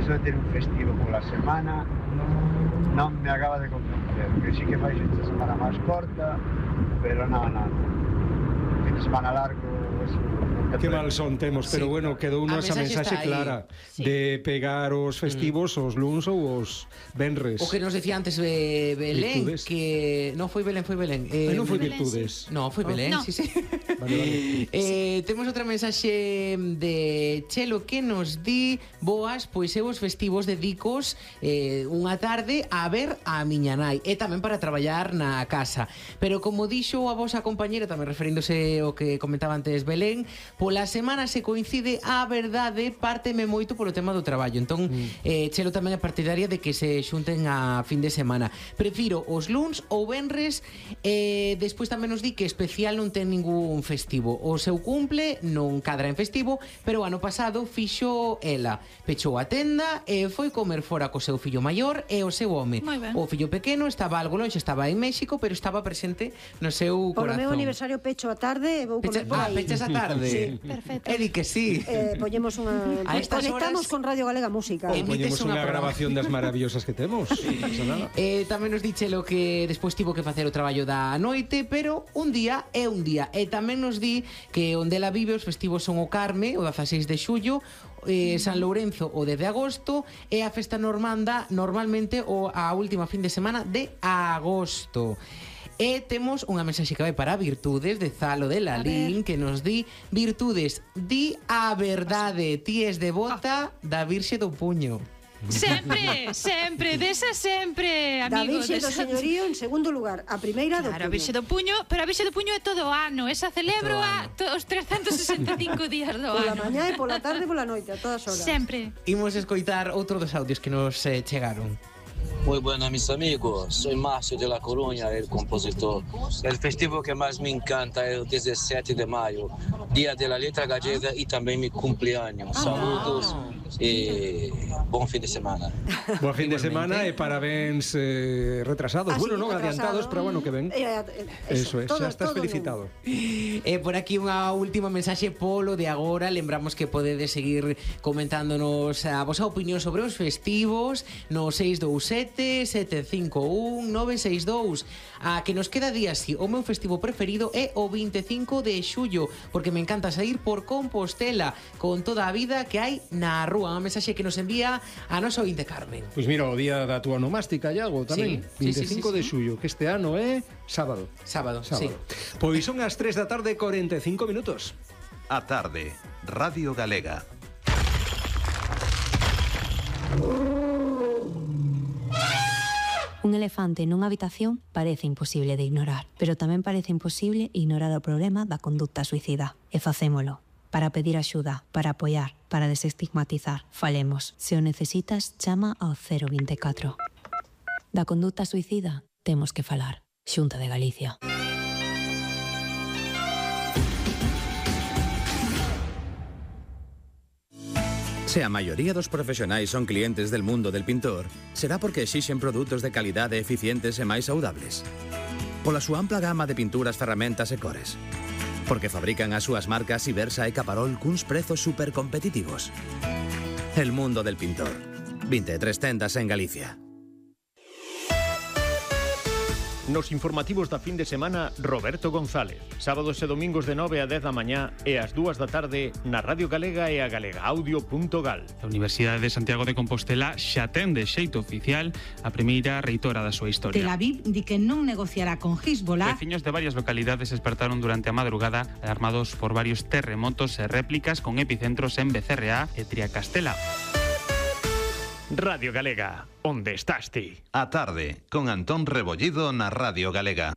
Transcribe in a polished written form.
eso de ter un festivo pola semana non me acaba de convencer, que sí que fai esta semana máis corta, pero non. Fin de semana largo, eso... Que mal son temos, pero bueno, quedou esa mensaxe clara de pegar os festivos os luns ou os venres. O que nos decía antes Belén, que non foi Belén, non foi Virtudes. Non, foi Belén, sí. Vale. Temos outra mensaxe de Chelo que nos di: boas, pois eu os festivos dedicos unha tarde a ver a miña nai e tamén para traballar na casa. Pero como dixo a vosa compañera, tamén referíndose ao que comentaba antes Belén, pola semana se coincide, a verdade, párteme moito polo tema do traballo. Entón, Chelo tamén é partidaria de que se xunten a fin de semana. Prefiro os luns ou venres. Despois tamén nos di que especial non ten ningún festivo. O seu cumple non cadra en festivo, pero o ano pasado fixo ela. Pechou a tenda e foi comer fora co seu fillo maior e o seu home. O fillo pequeno estaba algo longe, estaba en México, pero estaba presente no seu corazón. Polo meu aniversario pecho a tarde e vou comer por aí. Pechas a tarde? Sí. Perfecto. Edi que sí. Poñemos unha... Conectamos con Radio Galega Música. Poñemos unha grabación das maravillosas que temos. Tamén nos dichelo que despois tivo que facer o traballo da noite, pero un día é un día. E tamén nos di que onde ela vive os festivos son o Carme, o 16 de xullo, San Lourenzo o 10 de agosto e a festa normanda normalmente a última fin de semana de agosto. E temos unha mensaxe que vai para Virtudes de Zalo de Lalín, que nos di: Virtudes, di a verdade, ti es devota da Virxe do Puño. Sempre, desa sempre, amigo. Da Virxe do Señorío en segundo lugar, a primeira do Puño. Claro, a Virxe do Puño, pero a Virxe do Puño é todo o ano, esa celebro os 365 días do ano. Pola mañá e pola tarde e pola noite, a todas horas. Sempre. Imos escoitar outro dos audios que nos chegaron. Muy buenas mis amigos, soy Márcio de La Coruña, el compositor. El festivo que más me encanta es el 17 de mayo, Día de la Letra Gallega y también mi cumpleaños. Saludos y buen fin de semana. Buen fin de semana e parabéns retrasados. Bueno, non adiantados, pero bueno, que ven. Eso é, xa estás felicitado. Por aquí unha última mensaxe polo de agora. Lembramos que podedes seguir comentándonos a vosa opinión sobre os festivos no 627-751-962. A que nos queda día así. O meu festivo preferido é o 25 de xullo, porque me encanta sair por Compostela con toda a vida que hai na rúa. Unha mensaxe que nos envía a nosa ointe Carmen. Pois mira, o día da túa onomástica, Iago, tamén. Sí, 25 de xullo, que este ano é sábado. Sábado. Sí. Pois son as 3 da tarde, 45 minutos. A tarde, Radio Galega. Un elefante nunha habitación parece imposible de ignorar, pero tamén parece imposible ignorar o problema da conducta suicida. E facémolo. Para pedir axuda, para apoiar, para desestigmatizar. Falemos. Se o necesitas, chama ao 024. Da conducta suicida temos que falar. Xunta de Galicia. Se a maioría dos profesionais son clientes del mundo del pintor, será porque exixen produtos de calidade eficientes e máis saudables. Pola súa ampla gama de pinturas, ferramentas e cores. Porque fabrican as súas marcas Ibersa e Caparol cuns prezos supercompetitivos. El mundo del pintor. 23 tendas en Galicia. Nos informativos da fin de semana, Roberto González. Sábados e domingos de 9 a 10 da mañá e ás 2 da tarde na Radio Galega e a galegaaudio.gal. A Universidade de Santiago de Compostela xa ten de xeito oficial a primeira reitora da súa historia. Tel Aviv di que non negociará con Hezbollah. Veciños de varias localidades despertaron durante a madrugada alarmados por varios terremotos e réplicas con epicentros en Becerreá e Triacastela. Radio Galega, onde estás ti? A tarde, con Antón Rebollido na Radio Galega.